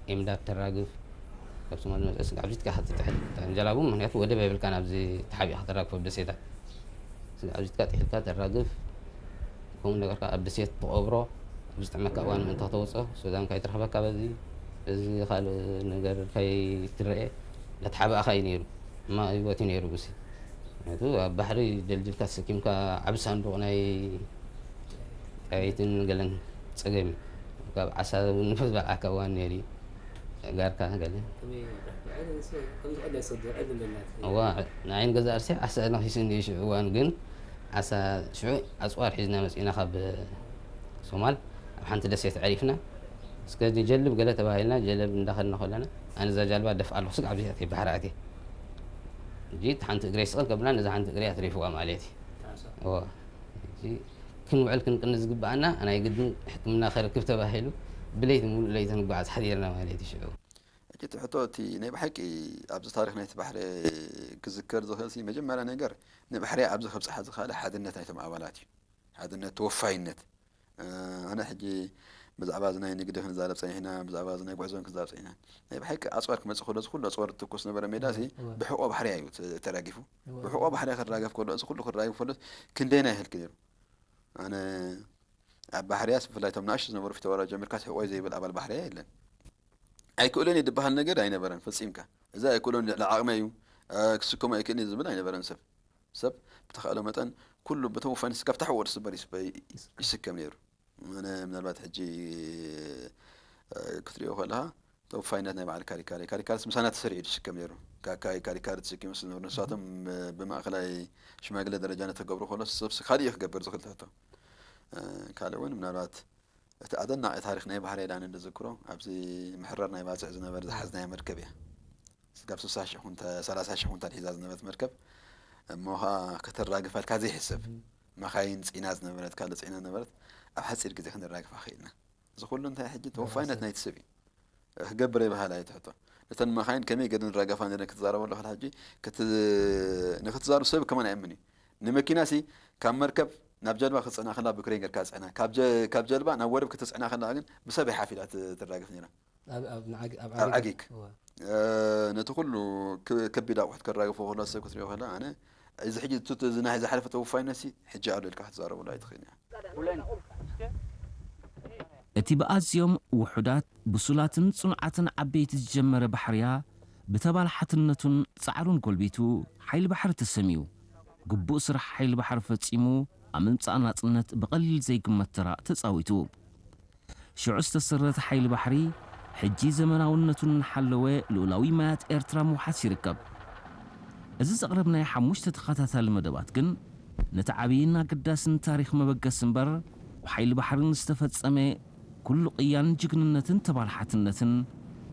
ኤምዳድ ተራግፍ፣ ካብ ሶማል ዝመፅእ ስጋዕ ብዚትካ ክትጥሕል ጀላቡ፣ ምክንያቱ ወደብ የብልካን ኣብዚ ተሓቢእካ ተራግፎ ደሴታት። ስጋዕ ብዚትካ ጥሒልካ ተራግፍ፣ ከምኡ ነገርካ ኣብ ደሴት ትቐብሮ፣ ኣብ ዝጥዕመካ እዋን ምእንቲ ከተውፅኦ፣ ሱዳን ከይትረኽበካ በዚ፣ በዚ ካልእ ነገር ከይትረኤ፣ እንዳተሓባእካ እዩ ነይሩ። ሕማቕ ህይወት እዩ ነይሩ ብሲ። ምክንያቱ ኣብ ባሕሪ ደልዲልካ ተሰኪምካ ዓቢ ሳንዱቕ ናይ ጣይትን ገለን ጸገም እዩ። ካብ ዓሳ እውን ንፈልጥ በልዓካ እዋን ነይሩ እዩ። ጋርካ ገለ። ከመይ፣ ንዓይ ንሱ ከም ዝቐለለ ሰብ ዝውዕል እንደናት። እዋ፣ ንዓይ ንገዛእ ርእሰይ ዓሳ ነኺስኒ እዩ ሽዑ እዋን፣ ግን ዓሳ ሽዑ ኣጽዋር ሒዝና መጺእና ካብ ሶማል ኣብ ሓንቲ ደሴት ኣዕሪፍና። እስከ ንጀልብ ገለ ተባሂልና፣ ጀለብ እንዳኸድና ከለና፣ ኣነ እዛ ጃልባ ደፍኣ ኣለኹ፣ ስጋዕ ብዚኣ ባሕሪ ኣትየ። ሕጂ እቲ ሓንቲ እግረይ ስቕል ከብላ፣ ነዛ ሓንቲ እግረይ ኣትሪፍዋ ማለት እዩ። እዋ፣ ሕጂ ክንውዕል ክንቅኒ ዝግብኣና፣ ናይ ግድን ሕክምና ከረክብ ተባሂሉ፣ ብለይቲ ሙሉእ ለይቲ ንጓዓዝ ሓዲርና ማለት እዩ ሽዑ። ሕጂ እቲ ሕቶ፣ እቲ ናይ ብሓቂ ኣብዚ ታሪኽ ናይቲ ባሕሪ ክዝከር ዝኽእል ሲ፣ መጀመርያ ነገር ንባሕሪ ኣብዚ ከብጽሓ ዝኸኣለ ሓድነት ናይቶም ኣባላት እዩ። ሓድነት፣ ተወፋይነት። እ፣ ኣነ ሕጂ ብዛዕባ እዚ ናይ ንግዲ ክንዛረብ ጸኒሕና፣ ብዛዕባ እዚ ናይ ጉዕዞ ክንዛረብ ጸኒሕና። ናይ ብሓቂ ኣጽዋር ክመጽእ ከሎ፣ እዚ ኩሉ ኣጽዋር ትኩስ ነበረ ሜዳ ሲ፣ እወ። ብሕቆ ባሕሪ እዩ ተ-፣ ተራጊፉ። እወ። ብሕቆ ባሕሪ ክራገፍ ከሎ፣ እዚ ኩሉ ክራገፍ ከሎ፣ ክንደይና ይህልክ ነይሩ። ኣነ ኣብ ባሕርያስ፣ ብፍላይ እቶም ንኣሽቱ ዝነበሩ ፊተወራ ጀሚርካ፣ ሕቆይ ዘይብል ኣባል ባሕርያ የለን። ኣይክእሎን እየ ዝበሃል ነገር ኣይነበረን፣ ፈጺምካ። እዚ ኣይክእሎን፣ ልዕሊ ዓቕመይ እዩ፣ እ፣ ክስከሞ ኣይክእልን እየ ዝብል ኣይነበረን ሰብ። ሰብ ብተኻእሎ መጠን ኩሉ ብተወፋይነት ስጋብ ታሕቲ ወዲ ስበር ይስበ-፣ ይስከም ነይሩ። ኣነ ምናልባት ሕጂ፣ እ፣ ክትሪኦ ከለኻ፣ ተወፋይነት ናይ በዓል ካሪካሪ፣ ካሪካሪስ ምሳና ተሰሪዑ ዝስከም ነይሩ። ካካይ ካሪካሪ ተሰኪሙ ዝነበሩ ንሳቶም፣ እ፣ ብማእከላይ ሽማግለ ደረጃ ነተገብሩ ከሎ፣ ሰብሲ ካልእ እዩ ክገብር ዝኽእል ትሕቶ። እ፣ ካልእ እውን ምናልባት እቲ ኣደናቒ ታሪኽ ናይ ባህርይ ኢለ ኣነ ዝዝክሮ፣ ኣብዚ ምሕራር ናይ ባጽዕ ዝነበረ ዝሓዝናዮ መርከብ እያ። ስጋብ ስሳ ሽሕ ኩንታ-፣ ሰላሳ ሽሕ ኩንታል ሒዛ ዝነበረት መርከብ፣ እሞ ኸኣ ከተራግፋልካ ዘይሕሰብ፣ እም። መኻይን ጽዒና ዝነበረት፣ ካልእ ጽዒና ዝነበረት፣ ኣብ ሓጺር ግዜ ክንራግፋ ኽኢልና። እዚ ኩሉ እንታይ ሕጂ ተወፋይነት ናይቲ ሰብ እዩ። ክገብር ኣይበሃል ኣይትሕቶ። ነተን መኻይን ከመይ ገይረን ዝራገፋ ነይረን ክትዛረበሉ ከላ ሕጂ ክት-፣ ንክትዛረብ ሰብ ከማን ኣይእምን እዩ። ንመኪናሲ ካብ መርከብ ናብ ጀልባ ክትጽዕና ከላ ብክሬን ጌርካ ጽዕና። ካብ ጀ-፣ ካብ ጀልባ ናብ ወደብ ክትጽዕና ከላ ግን ብሰብ እያ ሓፍ ኢላ ት-፣ ትራገፍ ነይራ። ኣብ፣ ኣብ ንዓግ-፣ ኣብ ኣብ ዓጊግ። ዓጊግ። እወ። እ፣ ነቲ ኩሉ ክ-፣ ከቢድ ኣቑሑት ከራግፎ ከሎ ሰብ ክትሪኦ ከላ ኣነ እዚ ሕጂ እቲ፣ እዚ ናይ ዝሓለፈ ተወፋይነትሲ ሕጂ ኣሎ ኢልካ ክትዛረበሉ ኣይትኽእልን ኢኻ። እቲ ብኣዝዮም ውሑዳት፣ ብሱላትን ጽኑዓትን ዓበይቲ ዝጀመረ ባሕርያ፣ ብተባላሓትነቱን ጻዕሩን ጎልቢቱ፣ ሓይሊ ባሕሪ ተሰምዩ። ግቡእ ስራሕ ሓይሊ ባሕሪ ፈጺሙ፣ ኣብ ምምጻእ ናጽነት ብቐሊል ዘይግመት ተራ ተጻዊቱ። ሽዑ ዝተሰረተ ሓይሊ ባሕሪ፣ ሕጂ ዘመናውነቱ እናሓለወ ልኡላዊ ማያት ኤርትራ ምውሓስ ይርከብ። እዚ ዘቕረብናዮ ሓሙሽተ ተኸታታሊ መደባት ግን፣ ነቲ ዓብይን ኣገዳስን ታሪኽ መበገሲ እምበር፣ ብሓይሊ ባሕርን ዝተፈጸመ ኩሉ ቅያን ጅግንነትን ተባላሓትነትን፣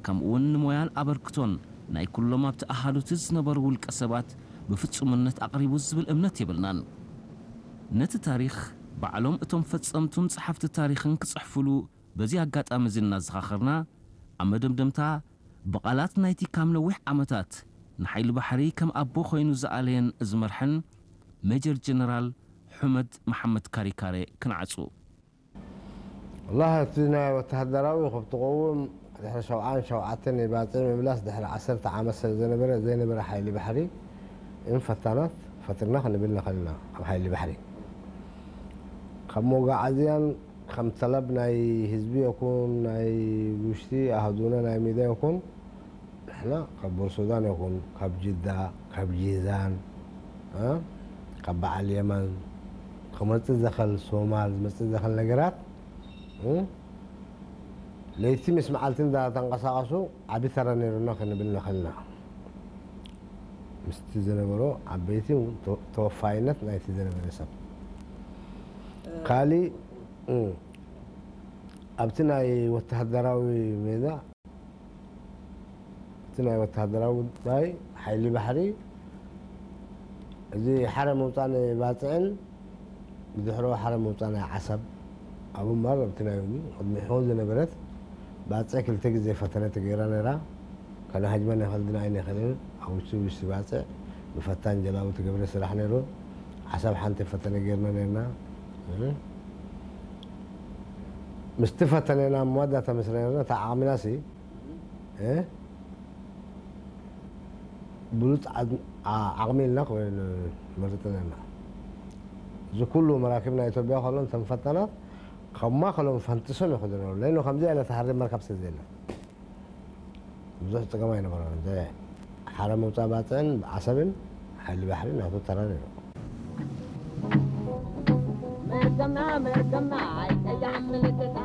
ከምኡውን ንሞያን ኣበርክቶን ናይ ኩሎም ኣብቲ ኣሃዱቲ ዝነበሩ ውልቀ ሰባት ብፍጹምነት ኣቕሪቡ ዝብል እምነት የብልናን። ነቲ ታሪኽ ባዕሎም እቶም ፈጸምቱን ጸሓፍቲ ታሪኽን ክጽሕፉሉ በዚ ኣጋጣሚ እዚ እናዘኻኸርና፣ ኣብ መደምደምታ ብቓላት ናይቲ ካብ ነዊሕ ዓመታት ንሓይሊ ባሕሪ ከም ኣቦ ኮይኑ ዝኣለየን ዝመርሐን ሜጀር ጀነራል ሑመድ መሓመድ ካሪካሬ ክንዓጹ። ወላሂ እቲ ናይ ወተሃደራዊ ካብ ትቐውም ድሕሪ ሸውዓን ሸውዓተን ናይ ባጽዕ ምምላስ ድሕሪ ዓሰርተ ዓመት ስለ ዘነበረ ዘይነበረ ሓይሊ ባሕሪ እም ፈታናት ፈጥርና ክንብል ንኽእል ኢና። ኣብ ሓይሊ ባሕሪ ከም መጓዓዝያን ከም ጠለብ ናይ ህዝቢ ይኹን ናይ ውሽጢ ኣህዱና ናይ ሜዳ ይኹን ንሕና ካብ ቦር ሱዳን ይኹን ካብ ጅዳ ካብ ጂዛን እ፣ ካብ በዓል የመን ክመጽእ ዘኸል ሶማል ዝመጽእ ዘኸል ነገራት እ፣ ለይቲ ምስ መዓልቲ እንዳተንቀሳቐሱ ዓቢ ተራ ነይሩና ክንብል ንኽእል ኢና። ምስቲ ዝነበሮ ዓበይቲ ተ-፣ ተወፋይነት ናይቲ ዝነበረ ሰብ። ካሊእ እ፣ ኣብቲ ናይ ወተሃደራዊ ሜዳ እቲ ናይ ወተሃደራዊ ጉዳይ ሓይሊ ባሕሪ፣ እዚ ሓረ ምውጻእ ናይ ባጽዕን ብድሕሮ ሓረ ምውጻእ ናይ ዓሰብ፣ ኣብኡ እምበር ኣብቲ ናይ ቅድሚሑ ዝነበረት ባጽዕ ክልተ ግዜ ፈተነ ተገይራ ነይራ። ከነሃጅመን ኣይኸልድን ኣይንኽእልን። ኣብ ውሽጢ ውሽጢ ባጽዕ ብፈታን ጀላቡ ትገብረ ስራሕ ነይሩ። ዓሰብ ሓንቲ ፈተነ ገይርና ነይርና። ምስቲ ፈተነ ናብ መወዳእታ ምስ ረኣና፣ እታ ዓቕምናሲ እ? ብሉጽ ዓድ-፣ ዓ-፣ ዓቕሚ ኢልና ኮይኑ መርጽና ኢና። እዚ ኩሉ መራኪብ ናይ ኢትዮጵያ ከሎ እተን ፈታናት ካብ ማእከሎም ፈንጥሶም ይኸዱ ነበሩ። ለይኖ ከምዚ ዓይነት ሃርድ መርከብ ስለ ዘየለ ብዙሕ ጸገም ኣይነበሮን። እዚ ሓረ ምውጻእ ባጽዕን ዓሰብን ሓይሊ ባሕሪ ናቱ ተራ ነይሩ። መርገምና መርገምና ኣይቀያሕ ምልክታ